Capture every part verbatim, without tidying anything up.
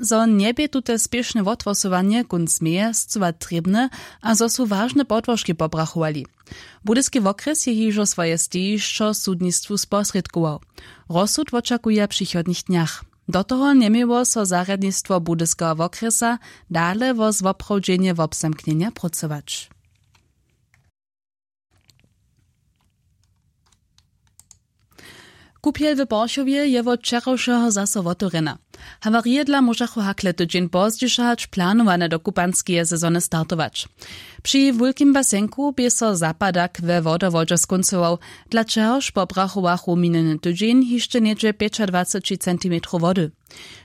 zo njebě tute spěšne wothłosowanje kónc meje scyła trěbne a zo su wažne podłožki pobrachowali. Budyski wokrjes je hižo swoje stejišćo sudnistwu sposrědkował. Rozsud wočakuja w přichodnych dnjach. Do toho njeměło so zarjadnistwo budyskeho wokrjesa dale wo zwoprawdźenje wobzamknjenja prócować. Kupjel w porchowje je wot wčerawšeho zaso wotewrjena. Hawarije dla móžachu hakle tydźeń pozdźišo hač planowane do kupanskeje sezony startować. Při wulkim basenku bě so zapadak we wodowodźe skóncował, dla čehož pobrachowachu minjeny tydźeń hišće něhdźe pjećadwaceći centimetrow wody.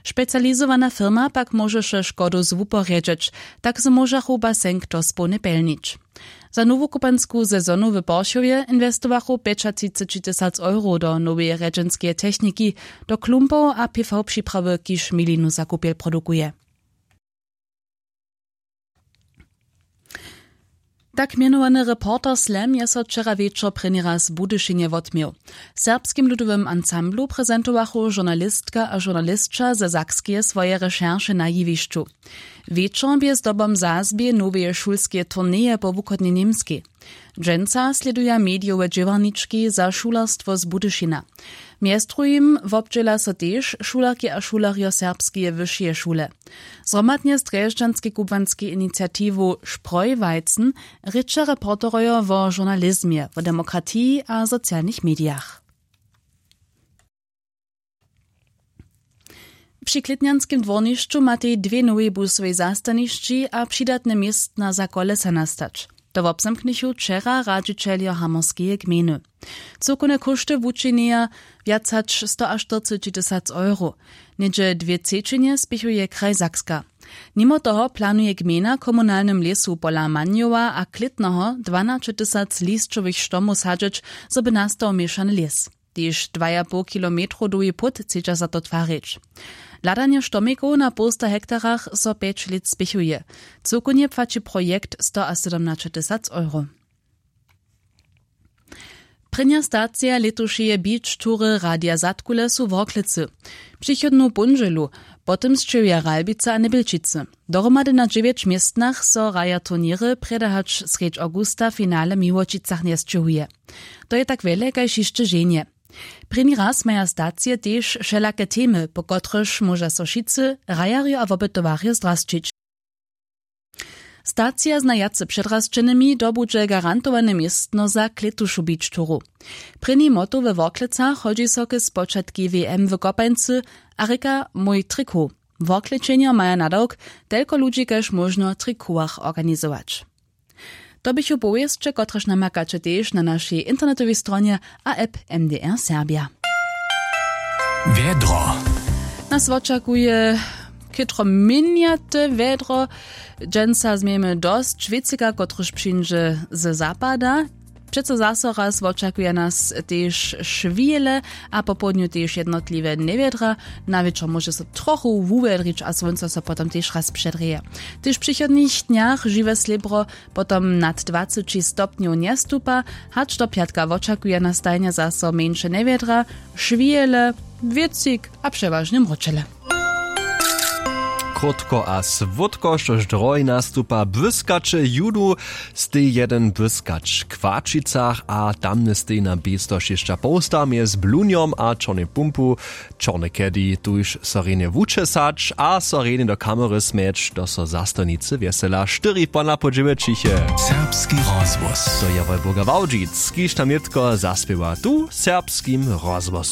Specializowana firma pak móžeše škodu zwuporjedźeć, tak zo móžachu basenk dospołnje pjelnić. Za nowu kupansku sezonu w porchowje inwestowachu pjećatřiceći tysac euro do noweje rjedźenskeje techniki, do klumpow a pv připrawy kiž milinu za kupjel produkuje. Tak mjenowany reporter slam je so wčera wječor prěni raz w budyšinje wotměł. W serbskim ludowym ansamblu prezentowachu žurnalistka a žurnalisća ze sakskeje swoje rešerše na jewišću. Wječor bě zdobom zazběje noweje šulskeje turneje po wuchodnjej němskej. Dźensa slěduja medijowe dźěłarnički za šulerstwo z budyšina. Mjez druhim wobdźěla so tež šulerki a šulerjo serbskeje wyšeje šule. Zhromadnje z drježdźanskej kubłanskej iniciatiwu spreuweizen rěča reporterojo wo žurnalizmje, wo demokratiji a socialnych medijach. Při klětnjanskim dwórnišću matej dwě nowej busowej zastanišći a přidatne městna za kolesa nastać. To wobzamknychu wčera radźićeljo hamorskeje gmejny. Cyłkowne kóšty wučinjeja wjac hač stoaštyrceći tysac euro. Něhdźe dwě třećinje spěchuje kraj sakska. Nimo toho planuje gmejna komunalnym lěsu pola manjowa a klětneho dwanaće tysac lisćowych štomow sadźeć, zo by nastał měšany lěs. Tež dwajapołkilometrow dołhi płót chcedźa za to twarić. Hladanje štomikow na połsta hektarach so pjeć lět spěchuje. Cyłkownje płaći projekt stoasydomnaćetysac euro. Prěnja stacija lětušeje beach tury radija zadkule su worklecy. Přichodnu póndźelu po tym sćěhuja ralbica a njebjelčicy. Dohromady na dźewjeć městnach so raja turněry prěda hač srjedź awgusta finale w miłočicach njesćěhuje. To je tak wjele kaž hišće ženje. Prěni raz maja stacije tež wšelake temy, po kotrychž móža so wšitcy, hrajerjo a wopytowarjo zdrasćić. Stacija z najwjace předrasćenymi dobudźe garantowane městno za klětušu beach turu. Prěni moto we worklecach hodźi so k spočatki w m w kopańcy a rěka mój trikow. Worklećenjo maja nadawk, telko ludźi kaž móžno w trikowach organizować. To běchu powěsće, kotrež namakaće tež na našej internetowej stronje a app mdr serbja. Wjedro. Nas wočakuje chětro měnjate wjedro. Dźensa změjemy dosć wěcyka, kotryž přińdźe ze zapada. Přeco zaso raz wočakuje nas tež šwile a popołdnju tež jednotliwe njewjedra. Na wječor móže so trochu wuwjedrić a słónco so potom tež raz předrěje. Tež w přichodnych dnjach žiwe slěbro potom nad dwaceći stopnjow njestupa. Hač do pjatka wočakuje nas tajnje zaso mjeńše njewjedra, šwile, wěcik a přewažnje mróčele. Krótko a słódko, štož drohi nastupa, błyskaće judu, stej jeden błyskać w Chwaćicach a tamny stej na běsto šěsća połsta mjez Blunjom a Čornej Pumpu. Čorne kedy tuž so rjenje wučesać a so rjenje do kamery smjeć, to so zastojnicy wjesela štyri pona po dźewjećich je. Serbski rozhłos. To je Wolburga Wałdźic, kiž tam nětko zaspěwa tu w Serbskim rozhłosu.